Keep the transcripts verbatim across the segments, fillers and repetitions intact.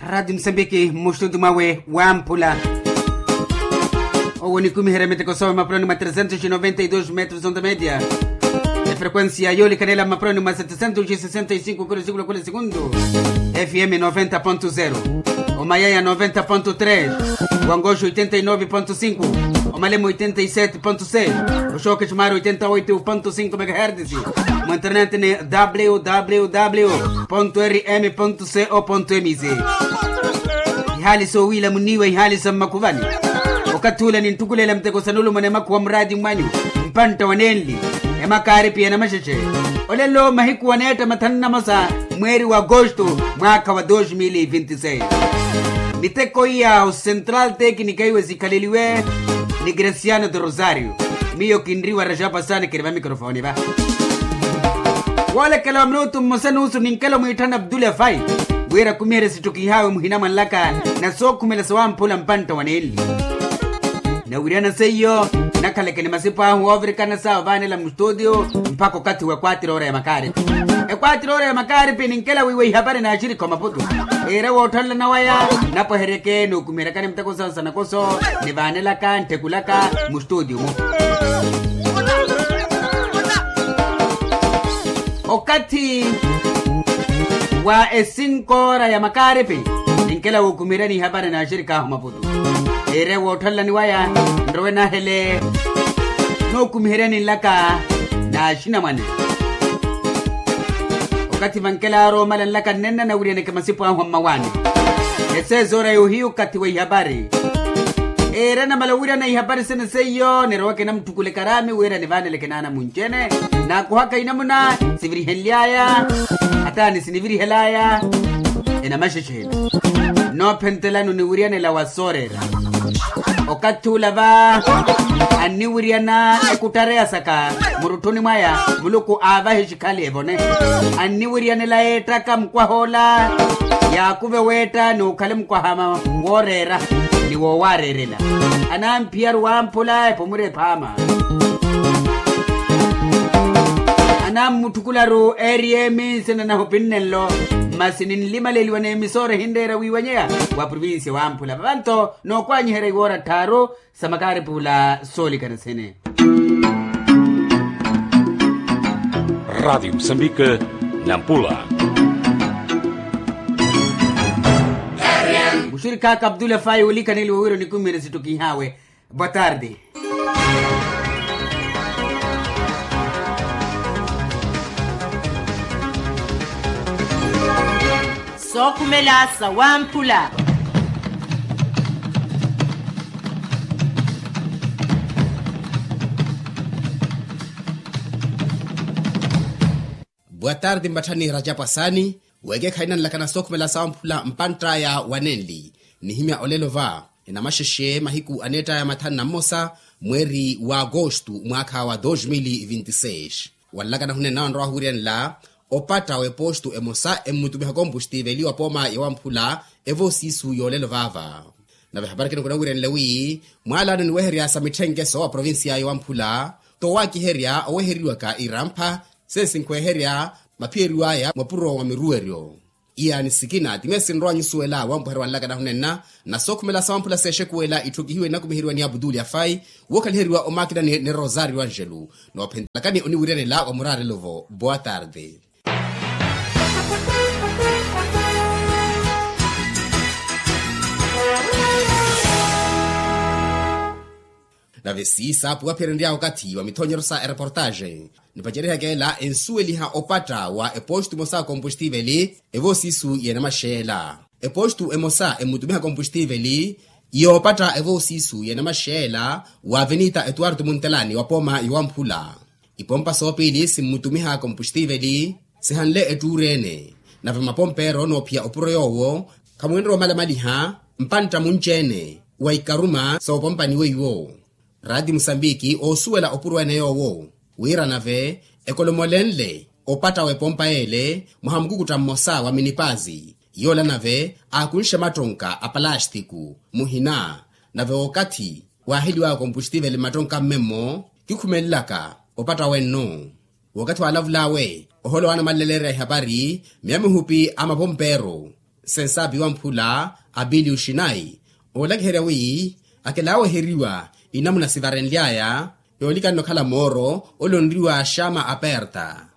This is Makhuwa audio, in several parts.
Radi musambiki mmuxtuntu mwawe wamphula. Owo nikumiherya miteko sowe mapuloni mwa tresentos noventa y dos metros onta media. Efrequencia yolikanela mapuloni mwa setesentos sesenta y cinco kilo sikula kule segundu. Fm noventa ponto zero, omayaya noventa ponto tres, wangoxo oitenta y nove ponto cinco, omalemo oitenta y sete ponto seis, oxoke xumari oitenta oito ponto cinco megahertz. Mu internet ni www rm co mz. Ihaali soowiila muniiwa ihaali sa mmakhuvani. Okathi ula ninttukulela muteko sa nulumona emakhuwa muraati mwanyu, mpantta wa nenli, emakaaripi ya namaxexe. Olelo mahiku waneetta mathanu namosa, mweeri wa agosto, mwaakha wa dos mil e vinte e seis. Miteko iya o central teknika iwe sikhaleliwe ni gresiano de rosario. Miyo kinriwa rajapasani kiri va mikrofoni va. Woolekela wa minutu mmosa nusu ninkelo mwiitthana abdulafai, wira kumiherye sittukihawe muhina mwanlaka na sookhumela sawamphula mpantta wa nenli. Nawiryana seiyo, nakhaleke ni masipu ahu oovirikana sa ovaanela mustutio, mpakha okathi wa ekwatira ora ya makaaripi. Ekwatira ora ya makaaripi ninkela wiiwa ihapari naaxirikha omaputu. Iira wootthanlana waya, napweheryeke nookumiheryakani muteko sawo sa nakoso, nivaanelaka ntthetthulaka mustutio mu. Okathi wa esinkoora ya makaaripi, ninkela wookumiheryani ihapari naaxirikha ahu maputu. Iire wootthanlani waya, nrowe nahele nookumiheryani nlaka naaxinamwane. Okathi vankelaaro omala nlaka nnenna nawiryaneke masipu ahu a mmawaani. Eseezoora yohiyu okathi wa ihapari. Iire namala owiryana ihapari sene seiyo niroweke namutthukuleke araami wira nivaaneleke naana munci-ene. Naakuhaka inamuna sivirihenly'aya, hata ni sinivirihel'aya enamaxexe ene. Noophentelano niwiryanela wa sooreera. Okathi ula va anniwiryana ekuttareya saka murutthuni mwaya, muluku aavahe xikhali evone. Anniwiryanela yeettaka mukwaha ola, yaakuve weetta ni okhale mukwaha wooreera ni woowareerela. Anamphiyaru wamphula epomwira ephaama. Anammutthukhularu eeriyemi nsina nahu pinnenlo. Masi ninlimaleliwa n'emisoora ehinreera wiiwanyeya wa provincia wamphula vavanto. Nookwanyiherya iwoora tthaaru sa makaaripula soolikana sene. Radiyo musambike, nampula. Muxirikaka abdulafai olikaneliwa wira onikumiherya sittukihawe. Boa tarde. Sookhumela sa wamphula. Boa tarde mpatthani rajapwasani. Weekekhayi nanlakana sookhumela sa wamphula mpantt'aya wa nenli. Nihimya olelo va enamaxexe mahiku aneett'aya mathanu na mmosa, mweeri wa agosto mwaakha wa dos mil e vinte e seis. Wanlakana hunenna wanrowa huwiryanela opatta w'epostu emosa emmutumiha kompustiiveli wa pooma ya wamphula. Evo siisu yoolelo vaava. Nave ehapari ekina kunawiryanela wi mwaalaano niweherya sa mitthenkeso wa provincia ya wamphula, toowakiherya oweheriwaka irampha sesi nkweherya maphiyeriw'aya mwapuro wa miruweryo. Iyaani sikina ti meesi nrowa nyusuwela wampweherya wanlakana hunenna. Na sookhumela sa wamphula seexekuwela itthukihiwe nnakumiheriwa ni abutuli afai. Wookhaliheriwa omaakina ni rosario angelo. Noophentelakani oniwiryanela wa muraarelo-vo. Boa tarde. Nave siisaapu waphiyerenrya okathi wa mithoonyeryo sa ereportaxe. Nipacerihaka ela ensuweliha opatta wa epostu emosa kompustiiveli evo siisu y'enamaxeela. Epostu emosa emmutumiha kompustiiveli yoopatta evo siisu y'enamaxeela wa avenita etuwartu muntelani wa pooma yowamphula. Ipompa soopiili simmutumiha kompustiiveli sihanle ettuuri-ene. Nave mapompeero noophiya opuro yoowo khamwinre omalamaliha mpantta munci-ene wa ikaruma soopompani weiwo. Radi musambiki oosuwela opuro-ene yoowo wira nave ekolomolenle opatta w'epompa y'ele mwaha mukukutta mmosa wa minipazi. Yoola nave aakunxe mattonka a palastiku muhina. Nave okathi waaheliwaya kompustiiveli mmattonka mmemmo kikhumelelaka opatta wenno. Wookathi waalavul'awe oholowa anamaleleleerya ihapari miya mihupi a mapompeero. Sensapi wamphula apiliu xinayi oolakiherya wi akelaaweheriwa inamuna sivarenly'aya yoolikanna okhala mooro ole onriwa xama aperta.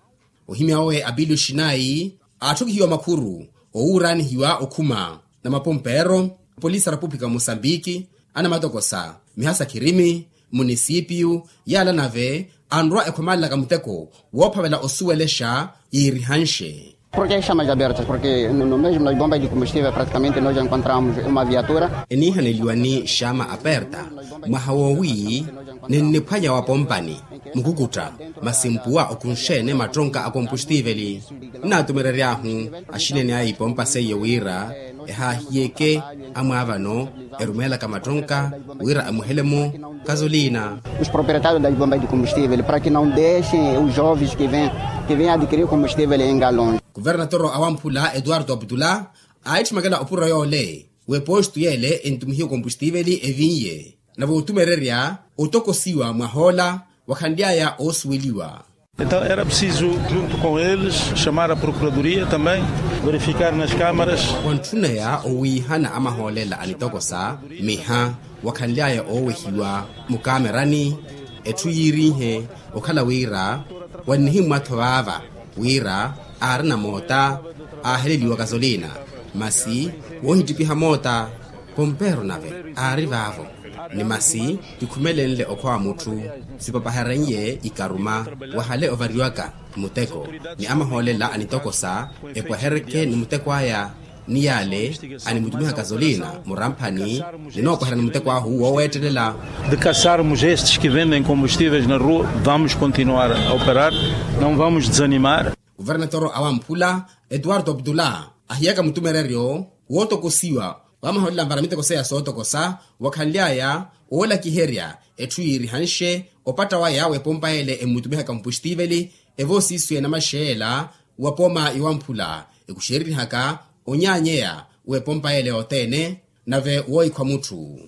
Ohimya owe apiliu xinayi aatthukihiwa makhuru owuuraanihiwa okhuma na mapompeero, polisi a repupulika wa mosambiki, anamatokosa, mihasa khirimi, munisipiyu, yaala nave anrwa ekhomaalelaka muteko woophavela osuwelexa yiirihanxe. Porke xama jabertas porke no mesmo na ibomba di combustível praticamente no ja encontramos uma viatura. Eniihaneliwa ni xama aperta mwaha woowi ninniphwanya wa pompani mukukutta masi mpuwa okunxene mattonka a kompustiiveli. Nnaatumerery'ahu axinene a ipompa seiyo wira ehaahiyeke amwaavano erumeelaka mattonka wira amuhele-mo kazolina. Os proprietários das bombas de combustível para que não deixem os jovens que vêm que vêm adquirir combustível em galões. Kuvernatoro awamphula etuwarto aputula aahitthimekela opuro yoole w'epostu yeele entumihiwe kompustiiveli evinye nave otumererya otokosiwa mwahoola wakhanly'aya oosuweliwa. Então era preciso junto com eles chamar a procuradoria também verificar nas câmaras. Wantthuneya owiihana amahoolela anitokosa miha wakhanly'aya oowehiwa mukamerani. Etthu yiirinhe okhala wira wannihimmwa-tho vaava wira aarina moota aaheleliwa kazolina masi woohittipiha moota pompeero nave aari vaavo ni masi kikhumelenle okhwa wa mutthu sipapaherenye ikaruma wahale ovariwaka muteko ni amahoolela anitokosa epwehereke ni muteko aya ni yaale animutumiha kazolina muramphani ninoopweherya ni muteko ahu wooweettelela. De caçarmos estes que vendem combustíveis na rua vamos continuar a operar, não vamos desanimar. Kuvernatoro awamphula etuwarto aputula ahiyaka mutumereryo wootokosiwa wamahoolela anvara miteko seya sootokosa wakhanly'aya oolakiherya etthu yiirihanxe opatta waya w'epompa yeele emmutumihaka mpustiiveli evoosiiswiya enamaxeela wa pooma yowamphula ekuxeeririhaka onyaanyeya w'epompa yeele yothene nave woohikhwa mutthu.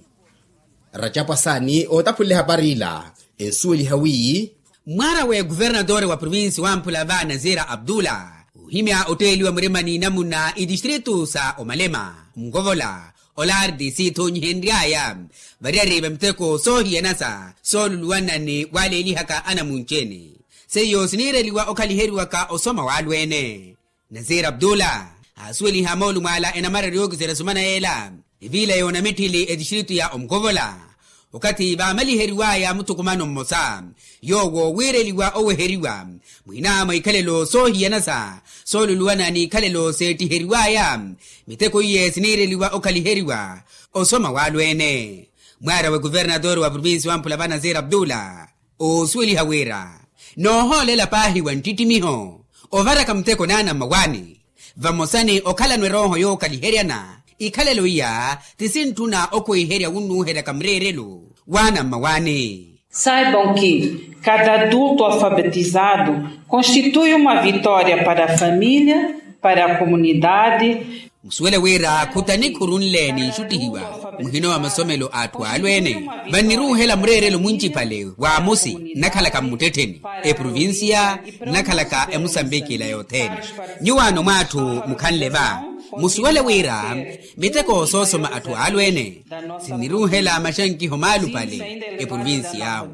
Racapwa saani ootaphulela ehapari ila ensuweliha wi mwaara w'ekuvernatore wa provinsi wamphula va nazira abdula ohimya otteeliwa murimani namuna itistritu sa omalema nkovola olardi siithonyihenry'aya variyari va miteko soohiyanasa sooluluwanani waleelihaka anamunci-ene seiyo siniireliwa okhaliheriwaka osoma w'alweene. Nasir abdula aasuweliha moolumo ala enamarari yookiserya sumana yeela eviila yoonamitthili etistritu ya omukovola okathi vaamaliheriwaya muthukumano mmosa yoowo wiireliwa oweheriwa mwiina mwa ikhalelo soohiyanasa sooluluwana n'ikhalelo seettiheriwaya miteko iye siniireliwa okhaliheriwa osoma w'alweene. Mwaara w'ekuvernatore wa provinsi wamphula va nasir abdula oosuweliha wira noohoolela paahi wa nttittimiho ovaraka muteko n'anammawaani vamosa ni okhalano erooho yookaliheryana ikhalelo iya ti sintthuna okhwiherya wunnuuheryaka mureerelo w'anammawaani. Saibam ki cada adulto alfabetizado constitui uma vitória para a família, para a comunidade. Musuwele wira khutanikhuru nle ninxuttihiwa muhino wa masomelo a atthu alweene vanniruuhela mureerelo muncipale wa amosi nnakhalaka mmuttettheni eprovinsiya nnakhalaka emusambiki ila yothene. Nyuwaano mwa atthu mukhanle va musuwele wira miteko soosoma atthu alweene sinniruuhela maxankiho maalupale eprovinsiya awo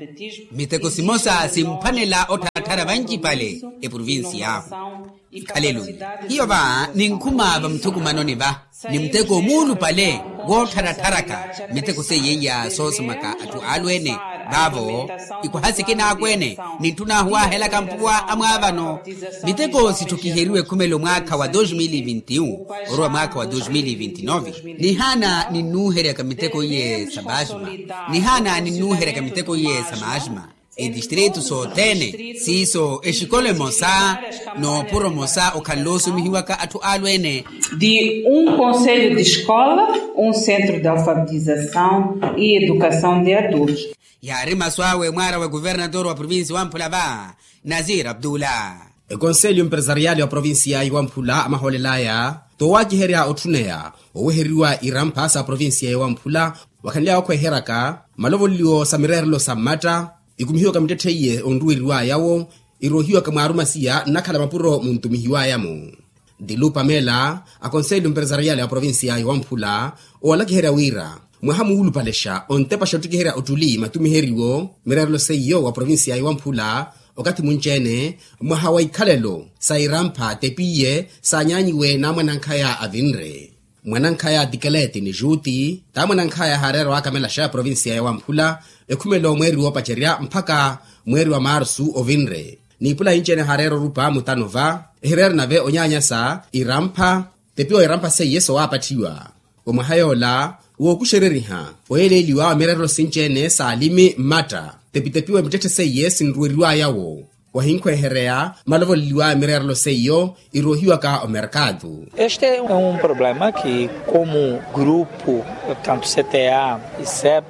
miteko simosa simphwanela ottharattharya vancipale eprovinsiya awo. Ikhalelo hiyo va ninkhuma vamuthukumanoni va ni muteko muulupale woottharatharaka miteko seiya iya soosomaka atthu alweene vaavo ikwaha sikina akweene nintthunaahu waahelaka mpuwa amwaavano miteko sitthukiheriwe ekhumelo mwaakha wa dos mil vinti un orowa mwaakha wa dos mil vinti nove. Nihaana ninnuuheryaka miteko iye sa maajima nihaana ninnuuheryaka miteko iye sa maajima etistritu sothene siiso exikolo emosa noopuro mosa okhanle osumihiwaka atthu alweene. De um conselho de escola, um centro de alfabetização e educação de adultos. Yaari masu awe mwaara wa ekuvernatore wa provinsi wamphula va nasir abdula. Ekonselyo empresariali wa provinsiya yiwamphula amahoolel'aya toowakiherya otthuneya oweheriwa irampha sa provinsiya yiwamphula wakhanly'aya okhweheryaka malovoleliwo sa mireerelo sa mmatta ikumihiwaka mittetthe iye onruweriw'aya-wo iroohiwaka mwaarumasiya nnakhala mapuro muntumihiw'aya-mo. Dilu pamela, akonselho empresarial ya provincia ya wamphula owalakiherya wira mwaha muwulupalexa ontepaxa ottikiherya ottuli matumiheriwo mireerelo seiyo wa provincia ya wamphula, okathi munci-ene mwaha wa ikhalelo sa irampha tepiye saanyanyiwe n'amwanankhaya avinre. Mwanankhaya tikeleti ni juti t'amwanankhaya haareera waakamelaxa provincia ya wamphula ekhumelo mweeri woopacerya mpakha mweeri wa marsu ovinre. N'ipula inci-ene haareera orupa mutano va ehireera nave onyaanyasa irampha tepiwa irampha seiye sowaapattiwa. Omwaha yoola wookuxereriha oyeeleeliwa wa mireerelo sinci-ene s'alimi mmatta tepitepiwe mittetthe seiye sinruweriwaya-wo wahinkhwehereya malovoleliwa mireerelo seiyo iroohiwaka omerkatu. Este é um problema que como grupo tanto cta e cep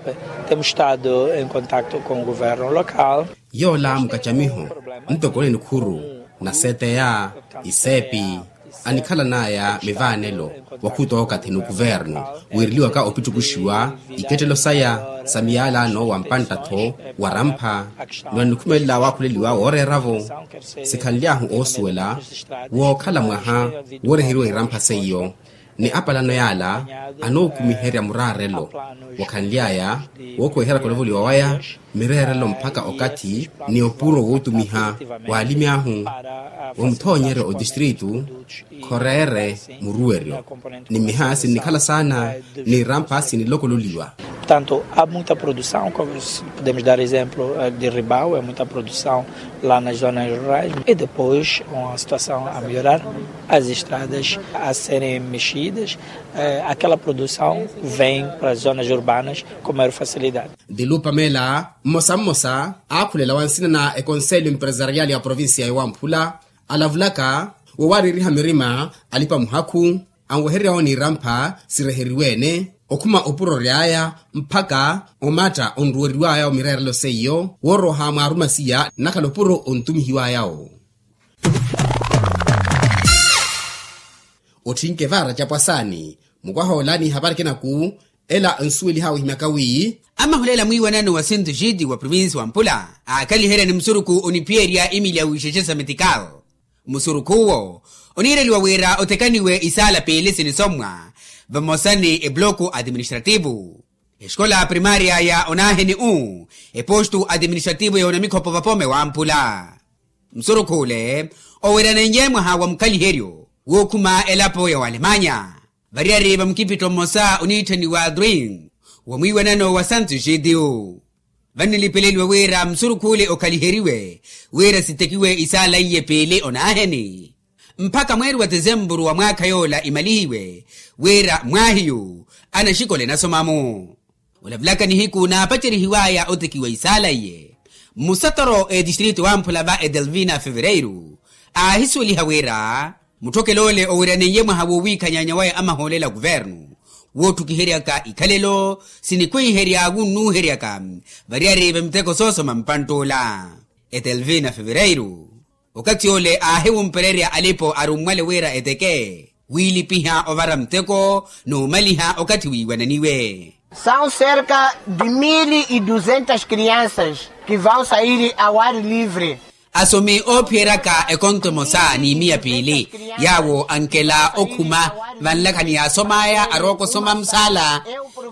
temos estado em contacto com o governo local. Yoola mukacamiho ntoko ni nikhuru na cta, isepi anikhalan'aya mivaanelo wakhuta okathi ni okuvernu wiireliwaka opittukuxiwa ikettelo saya sa miyalano wa mpantta-tho wa rampha ni wanikhumelela waakhuleliwa wooreera-vo. Sikhanly'ahu oosuwela wookhala mwaha wooreheriwa irampha seiyo ni apalano yaala anookumiherya muraarelo wakhanly'aya wookhuweherya kolovoliwa waya mireerelo mpakha okathi ni opuro wootumiha waalimi ahu wa muthoonyeryo otistritu khoreere muruweryo ni mmiha sinnikhala saana ni irampha sinilokololiwa. Portanto há muita produção como podemos dar exemplo de ribau é muita produção lá nas zonas rurais e depois com a situação a melhorar as estradas a serem mexidas aquela produção vem para as zonas urbanas com maior facilidade. Dilu pamela mmosa mmosa aakhulela wa nsina na ekonselho empresarial ya provincia ya wamphula alavulaka wowaaririha mirima alipa muhakhu anwehererya-wo n'irampha sireheriwe-ene okhuma opuro ory'aya mpakha omatta onruweriwaya omireerelo seiyo wooroha mwaarumasiya nnakhala opuro ontumihiwaya-wo. Otthinke vaara capwasaani mukwaha ola ni ehapari ekinaku ela nsuweliha wihimyaka wi amahulela mwiiwanano wa sintu xiti wa provincia wa mpula aakhaliherya ni musurukhu oniphiyerya imili ya wixexe sa metikal. Musurukhu-wo oniireliwa wira othekaniwe isaala piili sinisomwa vamosa ni epuloku atiministrativu exikola primaria ya onaheni-u epostu atiministrativu ya onamikhopo vapome wa mpula. Musurukhu ole oweranenye mwaha wa mukhaliheryo wookhuma elapo ya walemanya variyari va mukipitto mmosa oniitthaniwa dring wa mwiiwanano wa santu xitiyu. Vannilipeleliwe wira musurukhu ole okhaliheriwe wira sitekiwe isaala iye piili onaheni mpakha mweeri wa tisempuru wa mwaakha yoola imalihiwe wira mwaahiyu anaxikola enasoma-mu. Olavulaka nihiku naapacerihiwaya otekiwa isaala iye mmusatoro etistrito wamphula va edelvina fevereiru aahisuweliha wira mutthokelo ole oweraneiye mwaha wowiikhanyaanya waya amahoolela kuvernu woottukiheryaka ikhalelo sinikhwiherya wunnuheryaka variyari va miteko soosoma mpantt'ola. Edelvina fevereiru okathi ole aahiwumpererya alipo arummwale wira eteke wiilipiha ovara muteko n'umaliha okathi wiiwananiwe. São cerca de mil e duzentas crianças que vão sair ao ar livre. Asomi oophiyeryaka ekonto emosa n'imiya piili yaawo ankela okhuma vanlakhani yaasom'aya arookosoma musaala.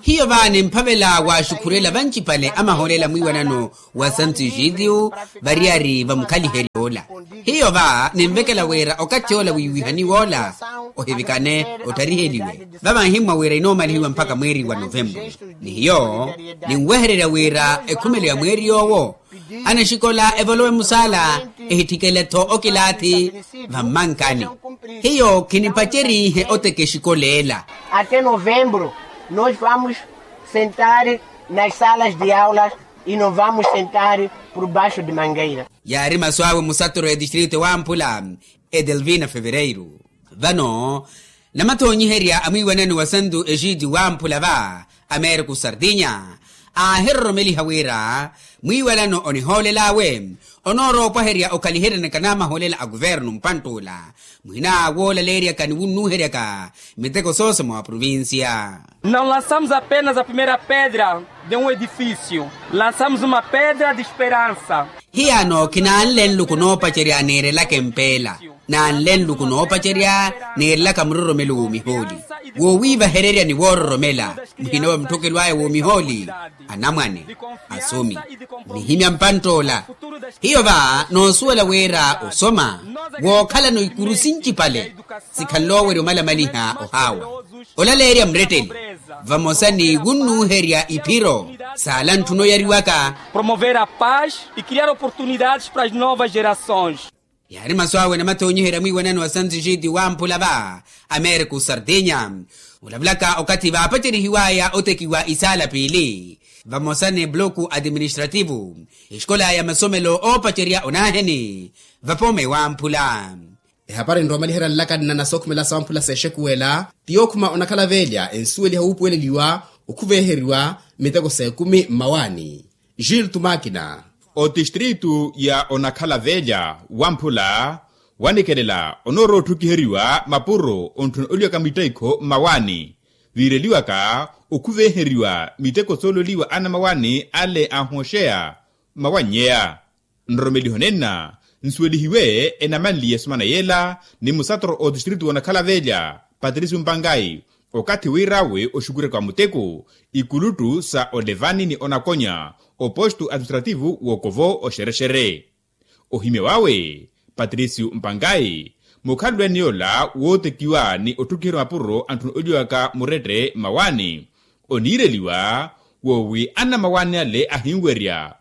Hiyo va nimphavela waaxukhurela vancipale amahoolela mwiiwanano wa santu exitiyu variyari va mukhaliheryo ola. Hiyo va ninvekela wira okathi ola wiiwihaniwa ola ohivikane ottariheliwe. Va vanhimmwa wira inoomalihiwa mpakha mweeri wa novemburu ni hiyo ninwehererya wira ekhumelo ya mweeri yoowo anaxikola evolowe musaala ehitthikele-tho okilaathi vammankani. Hiyo khinipacerihe oteka exikola ela. Até novembro nós vamos sentar nas salas de aulas e não vamos sentar por baixo de mangueira. Yaari masu awe musatoro ya distrito ewamphula edelvina fevereiru. Vano namathoonyiherya a mwiiwanano wa santu exiti wamphula va americo sardinya aahiroromeliha wira mwiiwanano onihoolel'awe onoorowa opwaherya okhaliheryani kanamaholela a kuvernu mpantt'ula, muhina woolaleeryaka ni wunnuuheryaka miteko soosoma wa provincia. Não lançamos apenas a primeira pedra de um edifício, lançamos uma pedra de esperança. Hiyaano khinanle nluku noopacerya niirelaka empeela, nanle nluku noopacerya niirelaka muroromelo w'omihooli, wowiivahererya ni woororomela muhina wa mutthokelo aya w'omihooli, anamwane, asomi, nihimya mpantt'ola. Hiyo va noosuwela wira osoma wookhalano ikuru sincipale sikhanle owerya omalamaliha ohaawa, olaleerya muretteli, vamosa ni wunnuuherya iphiro saala ntthuna oyariwaka. Promover a paz e criar oportunidades para as novas gerações. Yaari masu awe namathonyiherya mwiiwanani wa sanzixiti wamphula va americo sardinya, olavulaka okathi vaapacerihiwaya otekiwa isaala piili vamosa ni bloku administrativu, exikola ya masomelo oopacerya onaaheni vapooma ewamphula. Ehapari nroomaliherya nlaka nna nasookhumela sawamphula seexekuwela ti yookhuma onakhala veelya ensuweliha wuupuweleliwa okhuveeheriwa miteko s'ekumi mmawaani. Gil tumakina. Otistritu ya onakhala veelya wamphula wanikelela onoorowa otthukiheriwa mapuro ontthuna oliwaka mitteikho mmawaani, viireliwaka okhuveeheriwa miteko soololiwa anamawaani ale ahooxeya mmawannyeya. Nroromeliho nenna nsuwelihiwe enamanli y'esumana yeela ni musatoro otistritu w'onakhala veelya patricio mpangai, okathi wiir'awe oxukuraka wa muteko ikuluttu sa olevani ni onakonya opostu administrativu w'okovo oxerexere. Ohimya wawe patricio mpangai, mukhalulwene yoola wootekiwa ni otthukiheriwa mapuro antthuna oliwaka murette mmawaani, oniireliwa woowi anamawaani ale ahinwerya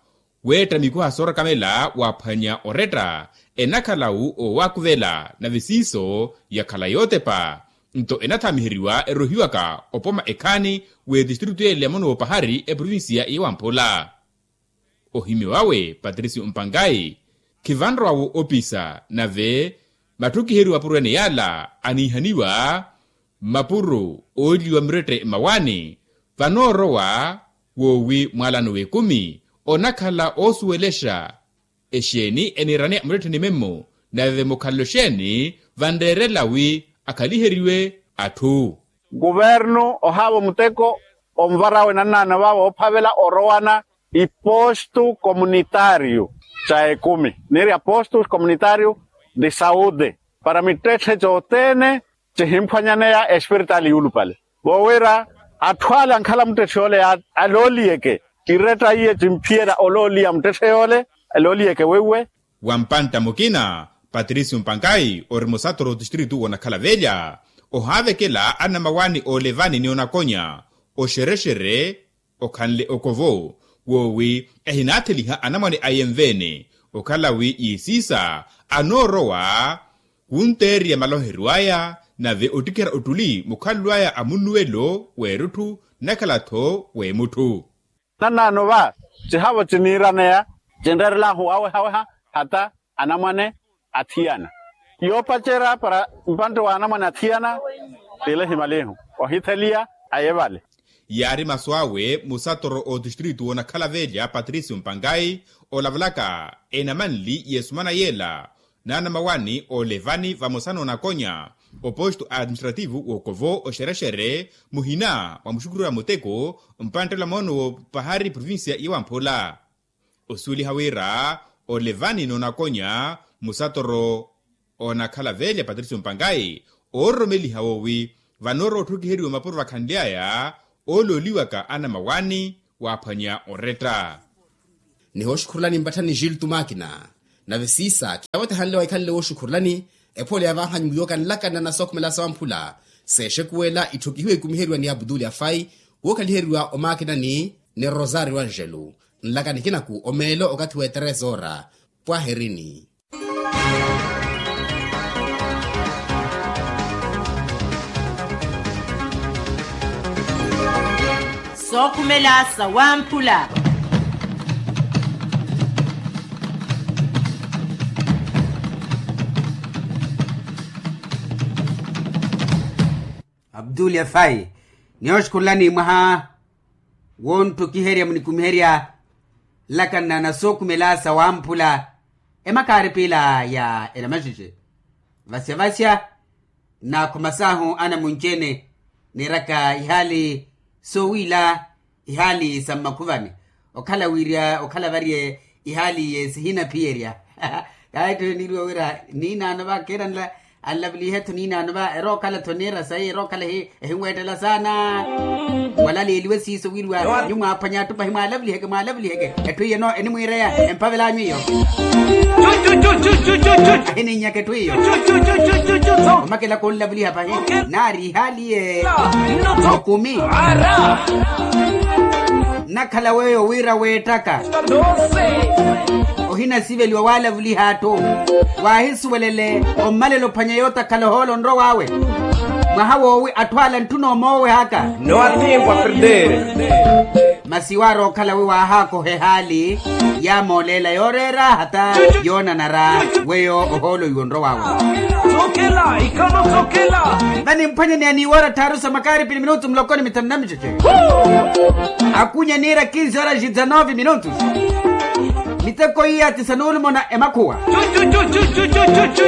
weetta mikuha soorakamela waaphwanya oretta, enakhala-wu owaakuvela nave siiso yakhala yootepa. Nto enathaamiheriwa erohiwaka opoma ekhaani w'etistritu yeele ya mono w'opahari eprovincia ya wamphula. Ohimya wawe patricio mpangai, khivanrowa-wo opisa nave matthukiheriwa mapuro ene yaala aniihaniwa mmapuro ooliwa mirette mmawaani, vanoorowa woowi mwaalano w'ekumi onakhala oosuwelexa exeeni eniiraneya muretteni memmo, nave mukhalelo exeeni vanreerela wi akhaliheriwe atthu. Kuvernu ohaavo muteko onvar'awe nannaano vaavo oophavela orowana ipostu komunitario ca ekumi niiri apostus komunitario de saude para mittetthe cothene cihimphwanyaneya espiritaali yuulupale, voowira atthu ale ankhala muttetthe yoole alooliyeke iretta iye cimphiyerya olooliya muttetthe yoole alooliyeke weiwe. Wa mpantta mukina patricio mpankai ori musatoro otistritu w'onakhala velya ohaavekela anamawaani oolevani ni onakonya oxerexere okhanle okovo woowi ehinaatheliha anamwane aye nveene okhala wi yiisiisa anoorowa wunteeriya maloheryo aya nave ottikhera ottuli mukhalelo aya a munnuwelo w'erutthu nnakhala-tho w'emutthu. Nannaano va cihavo ciniiraneya cinreerelahu awehaweha hata anamwane athiyana yoopacerya para mpantte wa anamwane athiyana tile himalihu ohitheliya aye vale. Yaari masu awe musatoro otistritu w'onakhala velya patricio mpangai olavalaka enamanli y'esumana yeela n'anamawaani oolevani vamosa n'onakonya opostu administrativu w'okovo oxerexere muhina mwa muxukhurira muteko mpanttela moono w'opahari provincia ya wamphula. Osuweliha wira olevani n'onakonya musatoro onakhala velya patricio mpangai oororomeliha woowi vanoorowa otthukiheriwa mapuro vakhanly'aya oolooliwaka anamawaani waaphwanya oretta. Nihooxukhurulani mpatthani gil tumakina nave siisa khiyaavotehanle waikhanle wooxukhurulani ephole ya vaahanyu wiiwaka nlakana na sookhumela sawamphula seexekuwela itthokihiwe ikumiheriwa ni abutuli afai wookhaliheriwa omakinani ni rosario angelo nlaka nikinaku omeelo okathi w'etereza ora pwaherini. Sookhumela sawamphula. Abdul efai nihooxukhurulani mwaha wonttukiherya munikumiherya nlakanna na sookhumela sawamphula. Emakaari piila ya enamaxexe, vasya vasya, naakhuma saahu anamunci-ene, niiraka ihaali soowiila, ihaali sa mmakhuvani, okhala wiirya okhala variye ihaali ye sihinaphiyerya. Kaahitthule niiriwa wira, niinaano va kiiranla, anlavulihe-tho niinaano va erookhala-tho niira sayi erookhala ehinweettela saana. Mwalaleeliwe siiso wiriwa nyuwo mwaaphwanya atthu pahi mwaalavuliheke mwaalavuliheke. Etthu iyeno enimwiireya empavel'anyu iyo. Ahininnyaka etthu iyo. Omakela khunlavuliha pahi, naari ihaaliye okumi. Nnakhala weeyo wira weettaka ohinasiveliwa waalavuliha atthu, waahisuwelele ommalela ophwanya yootakhala ohoolo onrowa awe. Mwaha woowi atthu ala ntthuna omoowehaka. Masi waari okhala wi waahaakoha ehaali yaamooleela yooreera hata yoonanara weyo ohoolo iwe onrowa awe. Vanimphwanyani aniiwoora tthaaru sa makaaripi ni minutu muloko ni mithanu na miceece. Akunya niira kinsi horas dizanove minutos. Miteko iya ti sanuulumona emakhuwa.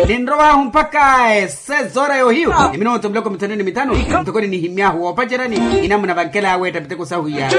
Ninrow'ahu mpakha esezora yohiyu ni minutu muloko mithanu ni mithanu. Ntoko ninihimy'ahu woopaceryani inamuna vankel'awe etta miteko sahu iya.